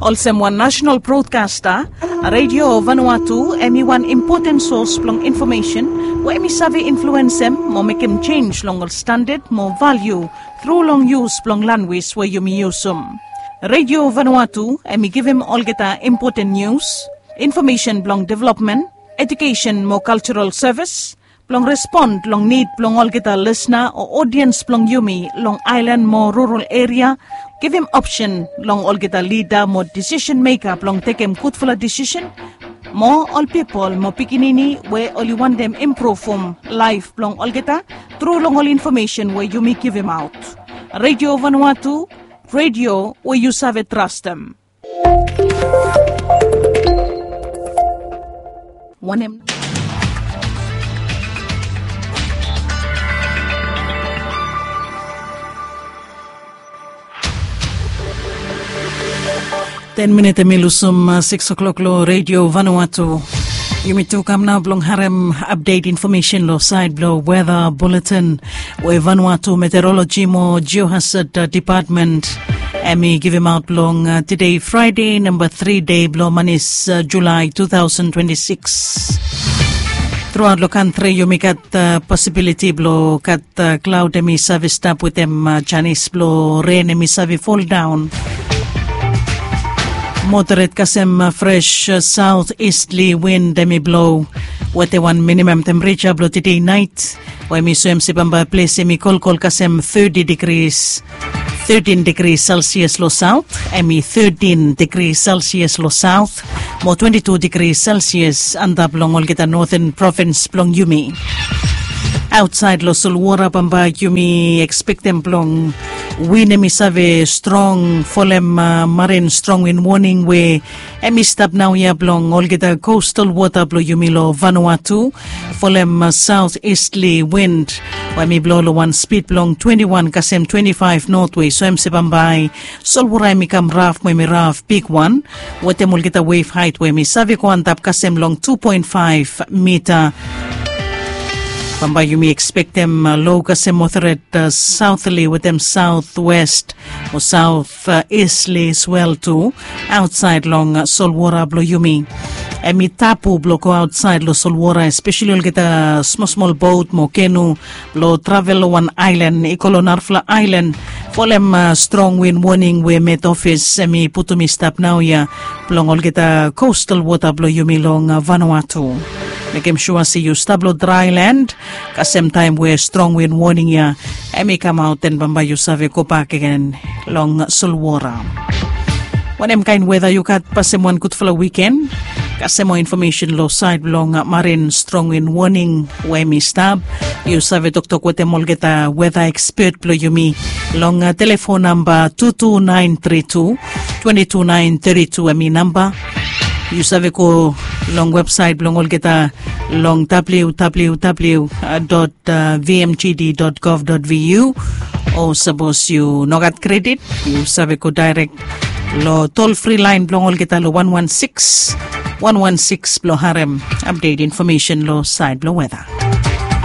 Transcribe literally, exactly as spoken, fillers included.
Olsem wan nasional brodkasta, Redio Vanuatu em i wan impoten sos blong infomesen we em i save influensem mo mekem jenj long ol standad mo valiu tru long yus blong lanwis we yumi yusum. Redio Vanuatu em i givim olgeta impoten nius, infomesen blong developmen, ejukesen mo kaljaral sevis, blong respon long nid blong olgeta lisna o odiens blong yumi long aelan mo rural eria, givim opsen long olgeta lida mo disisen meka blong tekem gudfala disisen, mo ol pipol mo pikinini we oli wantem impruvum laef blong olgeta tru long ol infomesen we yumi givimaot. Redio Vanuatu, redio we yu save trastem. Wanem? Ten minit em i lusum sikis o'klok long Redio Vanuatu. Yumi tu kam nao blong harem apdet infomesen long saed blong weda buletin we Vanuatu Meteoroloji mo Jiohasad Depatmen em i givimaot blong tede Fraede namba tri dei blong manis Julae tu taosen twenti sikis. Truaot long kantri yumi gat posibiliti blong gat klaod em i save stap wetem janis blong ren em i save foldaon. Moderet kasem fres saot istli win em i blo wetem wan minimam tempereja blong tede naet we em i soem se bambae ples em i kolkol kasem teti digris, tetin digris selsias long saot, em i tetin digris selsias long saot, mo twenti tu digris selsias antap long olgeta noten provins blong yumi. Aotsaed long solwora bambae yumi ekspektem blong win em i save strong folem marin strong win woning we em i stap naoia blong olgeta kostal wota blong yumi long Vanuatu, folem saot istli win we em i blo long wan spid blong twenti wan kasem twenti faef notwe. So em se bambae solwora em i kam raf mo em i raf bigwan wetem olgeta wef haet we em i save go antap kasem long tu poen faef mita. Bambae yumi ekspektem lo kasem moderet saotli wetem saotwest o saot istli swel tu aotsaed long solwora blong yumi. Em i tabu blong go aotsaed long solwora, espeseli olgeta smolsmol bot mo kenu blong travel long wan aelan i go long narafala aelan folem strong win woning we met ofis em i putum i stap naoia blong olgeta kostal wota blong yumi long Vanuatu. Mekem sua se yu stap long draelan kasem taem we strong win woning ya em i kamaot, den bambae yu save gobak gen long solwora. Wanem kaen weda yu gat? Pasem wan gudfala wiken. Kasem moa infomesen long saed blong marin strong win woning we em i stap, yu save toktok wetem olgeta weda ekspet blong yumi long telefon namba tu tu naen tri tu twenti tu naen teti tu em i namba. Yu save go long websaet blong olgeta long www dot vmgd dot gov dot vu. O sapos yu no gat kredit, yu save go daerek long tol fri laen blong olgeta long wan wan sikis wan wan sikis blong harem apdet infomesen long saed blong weda.